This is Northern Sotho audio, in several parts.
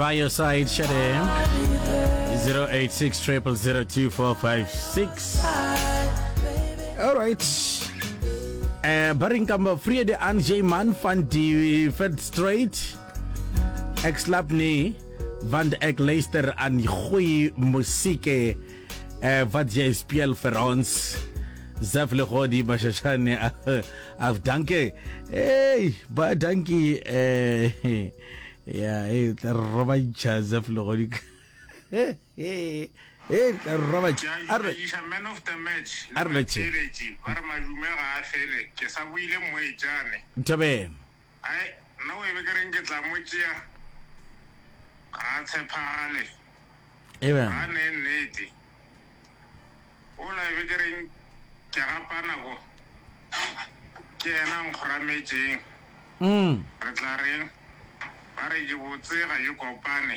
By Your Side, Shade. 086 0002456. All right. Eh, ba reng ka mo Vrede aan jy man van die Vetstraight. Ek slaap nie want ek luister aan die goeie musiek eh, wat jy speel vir ons. Zaf Legodi Mashashane af dankie. Hey, ba dankie eh ya hey tla robantšha Zaf Legodi. Hey, tla robantšha. Ke a iša man of the match le batheeletši ba re madume ga a fele ke sa boile moetšane. Nthabeng. Ai, nna o ebe ke reng ke tla mo tšea ga a tshepagale. Amen. Ga a nee nnete. Ola e be ke reng ke gapa nako ke yena a nkgorametšeng. Re tla reng? Ba re ke botse ga ke kopane.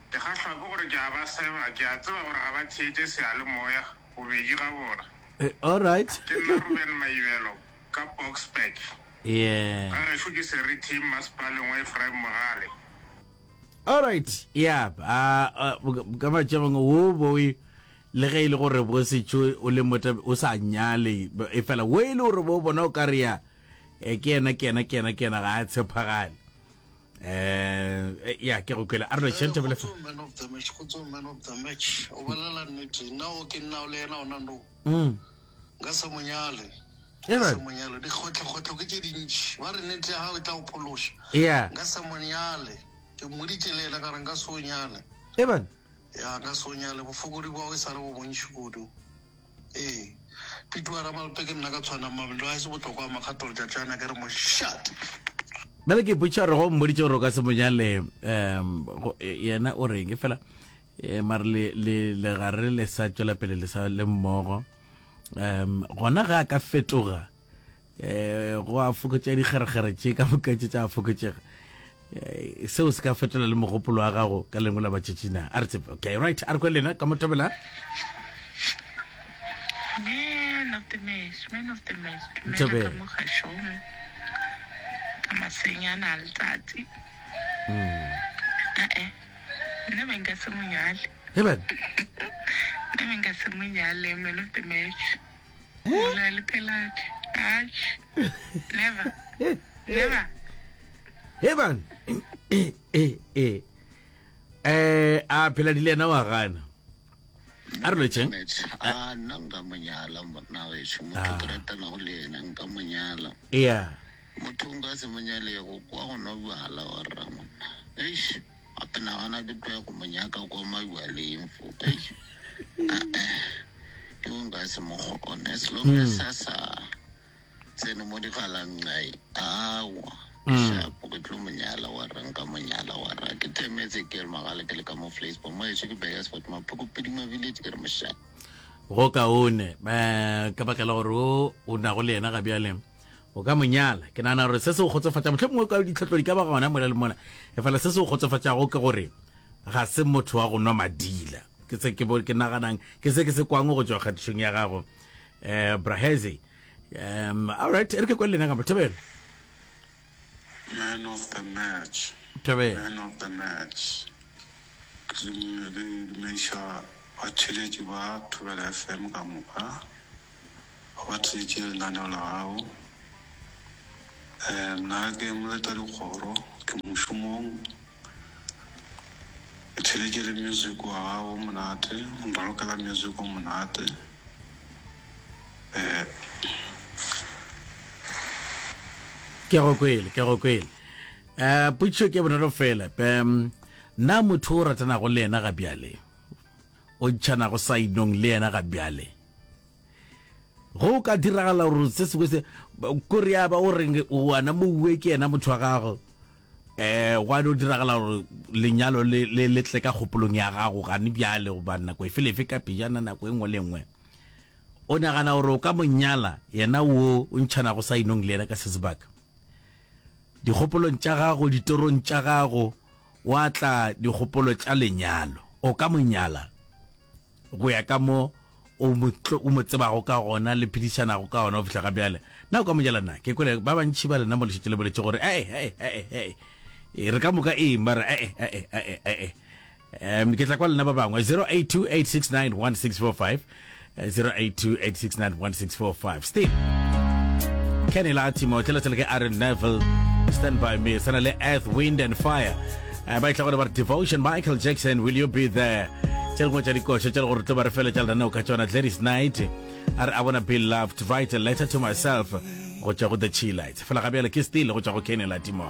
Ke kgahlwa ke gore ke a ba seba, ke a tseba gore ga ba theetše seyalemoya bobedi ga bona. All right. Ke nna Ruben Maibelo ka Boksburg. Yeah. Ga gešo ke Seriti Mmasepaleng wa Ephraim Mogale. All right, yeah, uh, ka matša mangwe wo boe le ge e le gore bo setšo o le mota o sa nyale e fela wo e le gore bo bona o ka re ya e ke yena ke yena ke yena ke yena ga a tshepagale eh ya ke go kwele a re tšhente bole fa man of the match go man of the match o bolela nnete nna o ke nna o le yena ona no mm nka se mo nyale nka se mo nyale dikgotlokgotlo ke tše dintši ba re nnete ya gago e tla go phološa yeah nka se mo nyale ke mmoditše le yena ka re nka se o nyale Eban. ya nka se o nyale bofokodi bwa gago e sa le bo bontši kudu ee Pituwa Ramalpe ke nna ka tshwana mabelo a e se bohlokwa a makgato letšatšana ke re mošate Bjale ke ipotšiša gore go mmoditše gore o ka se mo nyale um yena o reng e fela eh, mare le le le gare le sa tšwela pele le sa le mmogo um gona ge a ka fetoga um go a fokotša dikgerekgere tše ka moka tše tša fokotšega eh, seo se ka fetola le mogopolo wa gago ka lengwe la matšatši na a re tsebe okay right a re kwe lena ka motobela Man of the match, man of the match. Dumela ka mo gašong. Ka masenyana a letsatsi. Mm. Eh, Nna be nka se mo nyale. Eben. Nna be nka se mo nyale, man of the match. Ola le pheladi. Atjhe. Never. Never. Eben. Eh eh eh. Eh a pheladi le yena wa gana. A re lotšheng. A nna nka mo nyala monna gešo motho ke ratanago le yena nka mo nyala. Yeah. Motho nka se mo nyalego kwa go nwa bjala wa rra monna. Eish. Gape nagana ke tloya go mo nyaka kwa mabjaleng fo. Eish. Ah-eh. Yo nka se mo kgone. As long as a sa tsene mo digalanqai, aowa. Ke shapo, ke tlo mo nyala wa rra, nka mo nyala wa rra. Ke themetse ke re magale ke le ka mo Vleisbaai. Mo gešo ke Burgersfort, Maphoko Pidima Village, ke re mošate. Go kaone eh, ka baka la gore o o nago le yena ga bjale o ka mo nyala. Ke nagana gore se se o kgotsofatša, mohlomongwe ka ditlhotlo di ka ba gona mola le mola, efela se se o kgotsofatšago ke gore ga se motho wa go nwa madila. Ke se ke bo ke naganang, ke se ke se kwang go tšwa kgatišong ya gago eh Brahezi. Um all right, e re ke kwe le lena ka mo Thobela. Man of the match. Thobela. Man of the match. Ke dumediša batheeletši ba Thobela FM ka moka. Ba theetše lenaneo la gago. Nna ke moleta dikgoro, ke mošomong. Ke theeletše le music wa gago o monate, o nralokela music o monate. Ke go kwele, ke go kwele. Um potšišo ke bonolo fela. Um na motho o ratanago le yena ga bjale, o ntšhanago sainong le yena ga bjale, Go ka diragala gore se sengwe se kore ya ba o reng wana mouwe ke yena motho wa gago eh gwa no diragala gore lenyalo le le le tle ka kgopolong ya gago gane bjale goba nako efe le efe ka pejana nako e nngwe le nngwe o nagana gore o ka mo nyala yena wo o ntšhanago sa inong le yena ka se sebaka dikgopolong tša gago ditorong tša gago wa tla dikgopolo tša lenyalo o ka mo nyala go ya ka mo o mo, o mo tsebago ka gona le phedišanago ka gona go fihla ga bjale. Na o ka mo jala na? Ke kwele ba bantši ba lena mo le šetše le boletše gore, Ee, ee, ee, ee. E, re ka moka ee mara ee ee ee ee um ke tla kwa lena ba bangwe 0828691645 0828691645 Steve Kenny Latimo tlela ke Aaron Neville Stand By Me sana le Earth Wind and Fire uh, ba itla gore ba re Devotion Michael Jackson Will You Be There tše dingwe tša dikoša tše le gore tlo ba re feletša lenaneo ka tšona Gladys Knight a re I wanna be loved write a letter to myself go tšwa go The Chillites fela ga bjale ke Steel go tšwa go Kenny Latimo.